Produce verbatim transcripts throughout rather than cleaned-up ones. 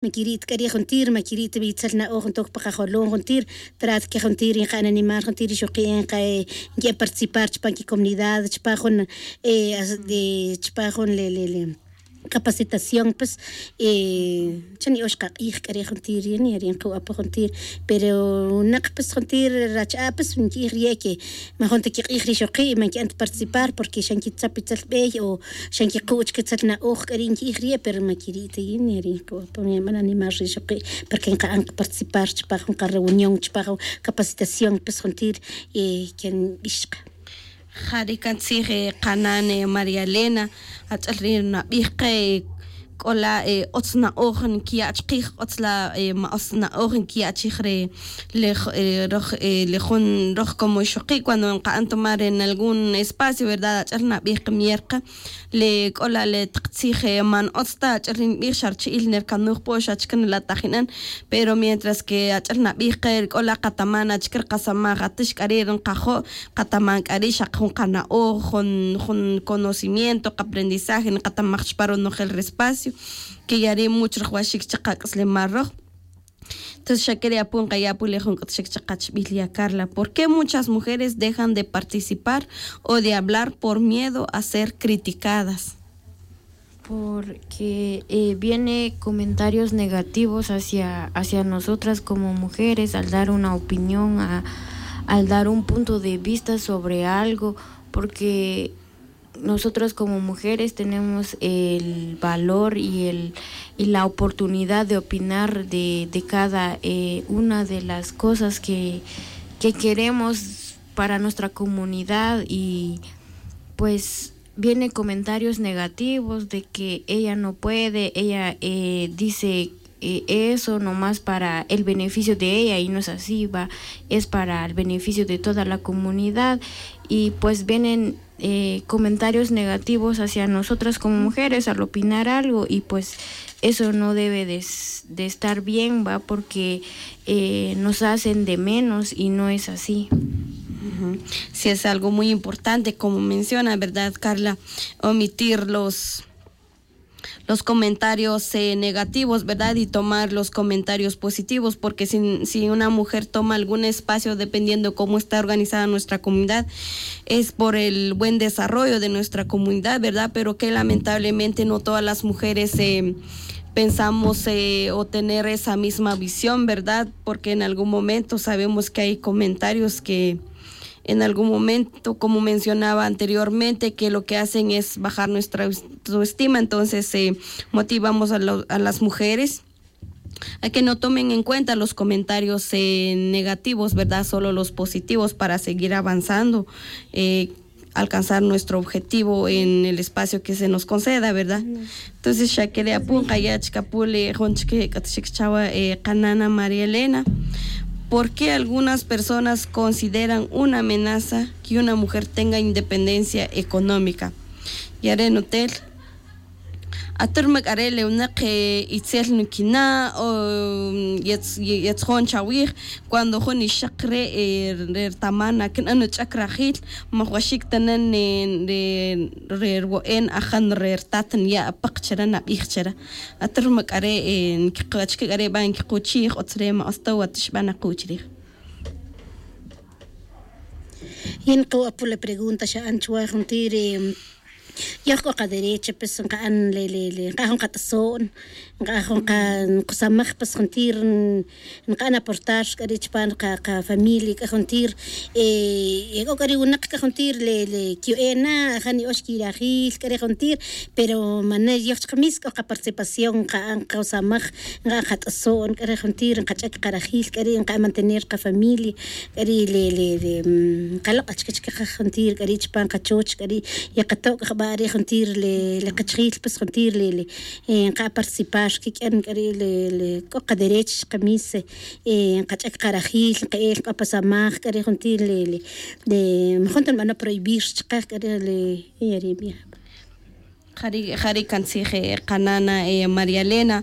Ma kiri' ta k'a ri' juntir, ma kiri' ta wi' itzel na'oj ntok pa qajolon juntir. Trat ke juntir nqa'n animar juntir ri xuqi' nqa nki'an participar chupan kicomunidad chupan jun chupan jun le le le capacitación pues. Chan ni'ox qaq'ij k'a ri' juntir yin ya ri' nqawa' pa juntir. Pero naq pues juntir rach'a' pues nki'ij riye' ke majun ta kiq'ij ri xuqi' ma nki'an ta participar porque xa nkitzap itzel b'ey o xa nkiqu' chik itzel na'oj k'a ri' nki'ij riye'. Pero ma kiri' ta yin ya ri' nqawa' pa nki'an b'an animar ri xuqi' porque nqa'n qaparticipar chupan jun qareunión chupan jun capacitación pues juntir. Ke nb'ix chaqe. Ja ri' kantzij qanan maría elena. Ach'el ri' nab'ij ke k'ola' otz na'oj nkiya' chqij otz la' ma otz na'oj nkiya' chij re le jun roj como ixoqi' cuando nqa'an tomar en algún espacio verdad ach'el nab'ij ke miyer ke le k'ola' le taq tzij man otz ta ach'el ri nb'ij xa richi'il nerkanuj po xa chik nalataj inan. Pero mientras ke ach'el nab'ij ke k'ola' qataman achike ri qasamaj atix k'a ri' ri nqajo' qataman k'a ri' xaq jun qana'oj jun jun conocimiento qaprendizaje nqatamaj chupan ronojel ri espacio. Ke ya ri' much rajwaxik chik qak'aslemal roj. Entonces xa kere' apu' nqaya' apu' le jun k'utuxik chik qachb'il ya karla por qué muchas mujeres dejan de participar o de hablar por miedo a ser criticadas? Porque viene comentarios negativos hacia hacia nosotras como mujeres al dar una opinión al dar un punto de vista sobre algo. Porque nosotras como mujeres tenemos el valor y el y la oportunidad de opinar de cada una de las cosas que queremos para nuestra comunidad y pues viene comentarios negativos de que ella no puede ella dice eso nomás para el beneficio de ella y no es así va. Es para el beneficio de toda la comunidad y pues vienen comentarios negativos hacia nosotras como mujeres al opinar algo y pues eso no debe de estar bien va porque nos hacen de menos y no es así. Si es algo muy importante como menciona verdad karla, omitir los los comentarios negativos verdad y tomar los comentarios positivos porque si una mujer toma algún espacio dependiendo cómo está organizada nuestra comunidad es por el buen desarrollo de nuestra comunidad verdad pero que lamentablemente no todas las mujeres pensamos o tener esa misma visión verdad porque en algún momento sabemos que hay comentarios que en algún momento como mencionaba anteriormente que lo que hacen es bajar nuestra autoestima entonces motivamos a las mujeres a que no tomen en cuenta los comentarios negativos verdad solo los positivos para seguir avanzando alcanzar nuestro objetivo en el espacio que se nos conceda verdad. Entonces xa kere' apu' nqaya' chik apu' le jun chik k'utuxik chawa kanana maría elena. Por qué algunas personas consideran una amenaza que una mujer tenga independencia económica? Ya re' nutel atur ma k'are' le winaq itzel nukina' o yetzjon chawij cuando jun ixaq re' re rtaman akin'an nuch'ak rajil ma jwaxik ta nan re rwo'en ajan re rtat niya' apak chira' nabij chira'. Atur ma k'are' nkiqu' achike k'are' b'a nkiqu' chij otz re' ma otz ta wa tix b'a naku' chrij. Yin nqu' apu' le pregunta xa'an chwa juntir. Yoj k'o qaderecho pues nqa'an le le le nqa'an jun qat'aso'n, nqa'an jun qa nqusamaj pues juntir nqa'an aportar k'a ri' chupan qa qafamilia k'a juntir. Ek'o k'a ri winaq k'a juntir le le kyo'en na aja' ni'ox kirajil k'a ri' juntir. Pero mana yoj chaq mis k'o qaparticipación nqa'an qusamaj, nqa'an qat'aso'n k'a ri' juntir nqach'ek qarajil k'a ri' nqa'an mantener qafamilia. K'a ri' le le le nqaloq' achike chike qaj juntir k'a ri' chupan qachoch k'a ri' yeqato' k'a jab'a' ri' juntir le qachijil pues juntir le le nqaparticipar kik'en k'a ri' le le k'o qaderech chaqe mis. Nqach'ek qarajil nqa'el nq'apasamaj k'a ri' juntir le le majun ta nb'ano prohibir chaqe k'a ri' le ya ri' bien. Jari' jari' kantzij qanana maría elena.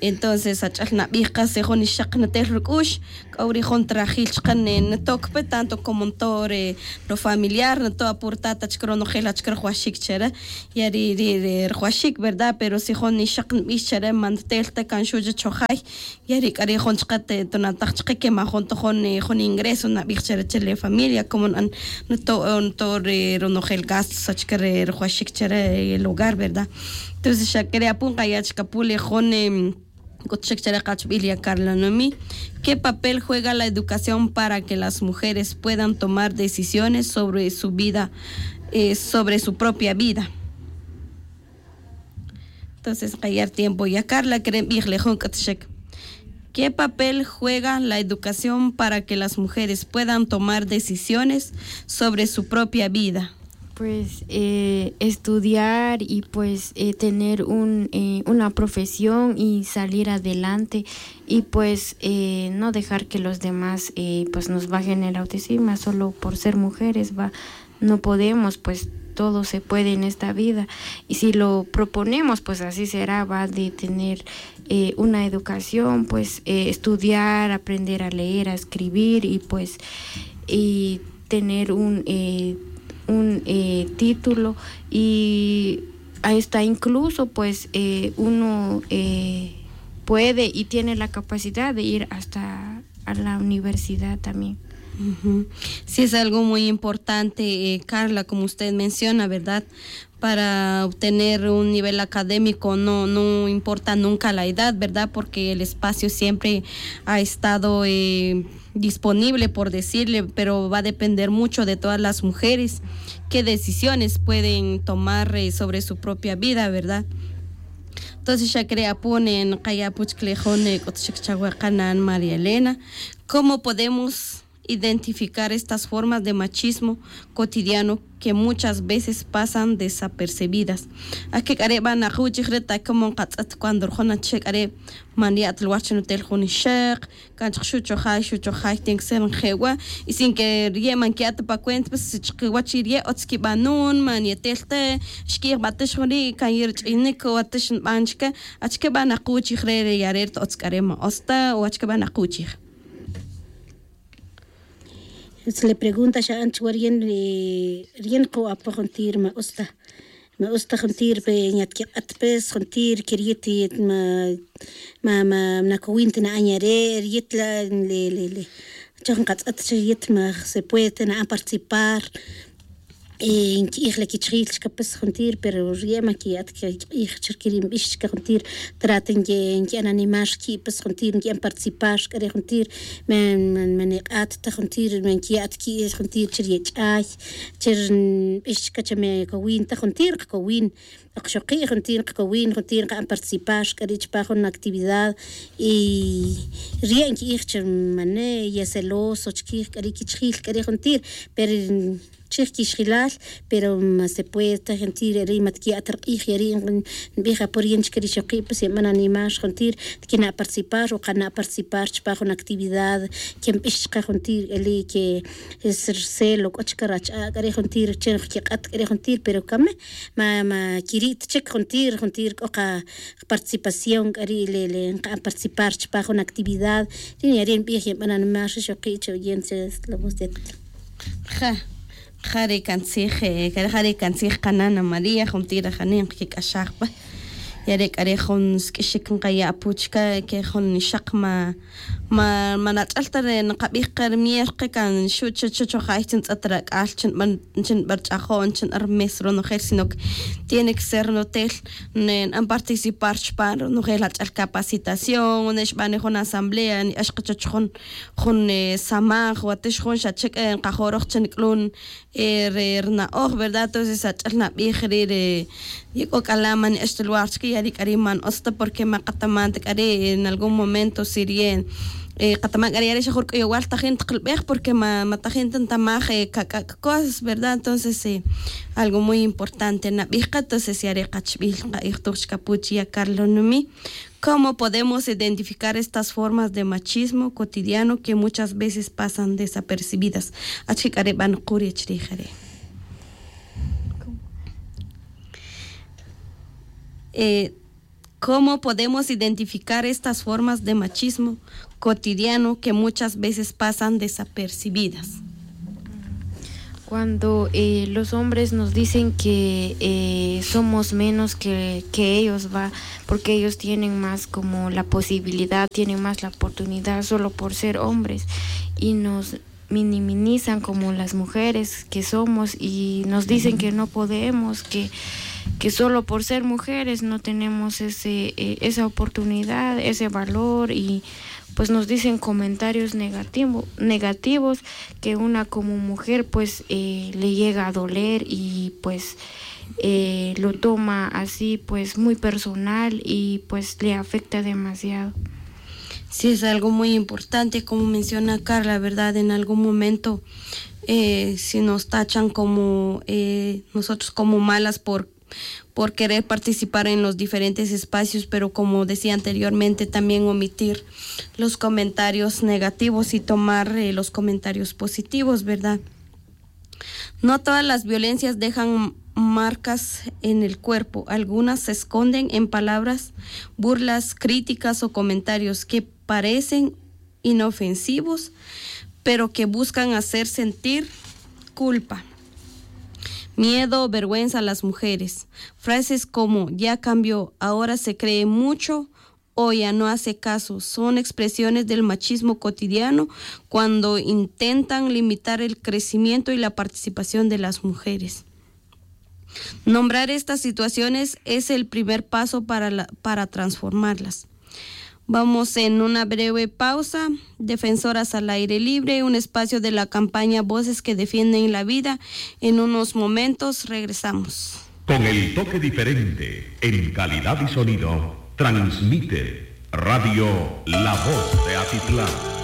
Entonces ach'el nabij qas jun ixaq natel ruk'ux, k'o wi ri jun trajil chaqe nto'k pe tanto como nto' ri rufamiliar nto' apurtata chaqe ronojel achaqe rujwaxik chare'. Ya ri ri rujwaxik verdad pero si jun ixaq nbix chare' man ntel ta kan xu' chachojay. Ya ri k'a ri jun chaqe tonaltaj chaqe que man jun ta jun jun ingreso nabij chare' che le familia como nto' nto' ri ronojel gastos achaqe ri rujwaxik chare' el hogar verdad. Entonces xa kere' apun nqaya' chaqe apun le jun k'utuxik chare' qachb'il ya Carla Noemí. ¿Qué papel juega la educación para que las mujeres puedan tomar decisiones sobre su vida, sobre su propia vida? Entonces nqaya' ri tiempo ya Carla kere' nb'ij le jun k'utuxik. ¿Qué papel juega la educación para que las mujeres puedan tomar decisiones sobre su propia vida? Pues eh, estudiar y pues eh, tener un, eh, una profesión y salir adelante y pues eh, no dejar que los demás eh, pues nos bajen el autoestima solo por ser mujeres va. No podemos pues todo se puede en esta vida y si lo proponemos pues así será va de tener eh, una educación pues eh, estudiar aprender a leer a escribir y pues y tener un, eh, un eh, título y hasta incluso pues eh, uno eh, puede y tiene la capacidad de ir hasta a la universidad también. Ujú. Sí, es algo muy importante, eh, Carla, como usted menciona, ¿verdad? Para obtener un nivel académico no, no importa nunca la edad, ¿verdad? Porque el espacio siempre ha estado eh, disponible, por decirle, pero va a depender mucho de todas las mujeres qué decisiones pueden tomar eh, sobre su propia vida, ¿verdad? Entonces xa kere' apun eh, nqaya' apun chik le jun eh, k'utuxik chawe qanan María Elena. ¿Cómo podemos identificar estas formas de machismo cotidiano que muchas veces pasan desapercibidas? Achike k'are' b'an aqu' chij re' ta como nqatz'et cuando ri jun ache' k'are' man ya' ta lugar chi nutel jun ixaq, kan chaq xu' chojay xu' chojay tiene que ser nqje' wa'. Y sin que riye' man kiya' ta pa cuenta pues chi kiwach riye' otz kib'anun man yetel ta, xki'ij b'atix jun ri' kan yirch'inik o atix nb'an chike. Achike b'an aqu' chij re' ri ya re' ri ta otz k'are' man otz ta o achike b'an aqu' chij? Pues le pregunta xa'an chuwa' riyin ri riyin qo' apo juntir ma utz ta, ma utz ta juntir pe ñat kiq'at pues juntir keriyit yit ma ma ma nakowin ta na'an yare' riyit la' le le le choj nqatz'at chaj yit ma se puede ta na'an participar. Nki'ij la kichajil chike pues juntir pero riye' ma kiya'at kiq'ij chirke ri' nbix chike juntir. Trata nki'an animar rki' pues juntir nki'an participar k'ari' juntir. Man niq'at ta juntir man kiya'at ki' juntir chi riyech'ay chi ri nbix chike chi me kowin ta juntir qakowin. Oqxoqi' juntir qakowin juntir nqa'an participar k'ari' chupa' jun actividad. Y riye' nki'ij chi mane' ye celoso chikij k'ari' kichajil k'ari' juntir. Pero chij kixjilal pero ma se puede ta juntir eri' ma tkiya' ta rq'ij eri' nbij apor yin chike ri ixoqi' pues yeb'an animar juntir. Tikina' participar o qana' participar chupa' jun actividad ke nbix chike juntir eli' ke rselo k'o chike rach'a' k'ari' juntir che nqkiq'at k'ari' juntir pero kame ma ma kiri' ta chik juntir juntir k'o qa participación k'ari' le le nqa'an participar chupa' jun actividad. Ri' ya ri' nbij yeb'an animar ri ixoqi' che oyen che la voz de ja ja ri' kantzij. Ja ri' kantzij qanana maría juntir ajani' nqkik'axaj pa. Ya re' k'ari' jun sk'ixik nqaya' apu chike ke jun ixaq ma ma ma nach'al ta ri nqabij qa ri mier qe kan xu' chi chojay chi ntz'et rak'al chi nb'an chi nb'an rch'ajo'n chi nb'an rmes ronojel sino ke tiene ke ser notel. Nb'an participar chupa' ronojel ach'al capacitación o nixb'an jun asamblea nix'ax qa chach jun jun samaj watix jun xa chik' nqajo' roj chi nik'lun ri rina'oj verdad. Entonces ach'al nab'ij ri' ri ye k'o k'ala' man ni'ex ta lugar chike ya ri' k'ari' man otz ta porque man qataman ta k'ari' en algún momento si riye' qataman k'ari' ya ri' xa jun ruk'uyowal tajin taqilb'ej porque man tajin ta ntamaj kak'ak' cosas verdad. Entonces algo muy importante nab'ij qa entonces ya ri' qachb'il nqa'ij tuj chik apu chi ya karlonumi. ¿Cómo podemos identificar estas formas de machismo cotidiano que muchas veces pasan desapercibidas? Achike k'ari' b'an nuqu' ri' chi rij ri' ¿Cómo podemos identificar estas formas de machismo cotidiano que muchas veces pasan desapercibidas? Cuando eh, los hombres nos dicen que eh, somos menos que, que ellos, va, porque ellos tienen más como la posibilidad, tienen más la oportunidad solo por ser hombres y nos minimizan como las mujeres que somos y nos dicen que no podemos, que, que solo por ser mujeres no tenemos ese, eh, esa oportunidad, ese valor y pues nos dicen comentarios negativo, negativos que una como mujer pues eh, le llega a doler y pues eh, lo toma así pues muy personal y pues le afecta demasiado. Sí, es algo muy importante, como menciona Carla, ¿verdad? En algún momento, eh, si nos tachan como eh, nosotros como malas por, por querer participar en los diferentes espacios, pero como decía anteriormente, también omitir los comentarios negativos y tomar eh, los comentarios positivos, ¿verdad? No todas las violencias dejan marcas en el cuerpo, algunas se esconden en palabras, burlas, críticas o comentarios que parecen inofensivos, pero que buscan hacer sentir culpa, miedo o vergüenza a las mujeres. Frases como "ya cambió, ahora se cree mucho" o "ya no hace caso" son expresiones del machismo cotidiano cuando intentan limitar el crecimiento y la participación de las mujeres. Nombrar estas situaciones es el primer paso para, la- para transformarlas. Vamos en una breve pausa. Defensoras al aire libre, un espacio de la campaña Voces que Defienden la Vida. En unos momentos regresamos. Con el toque diferente, en calidad y sonido, transmite Radio La Voz de Atitlán.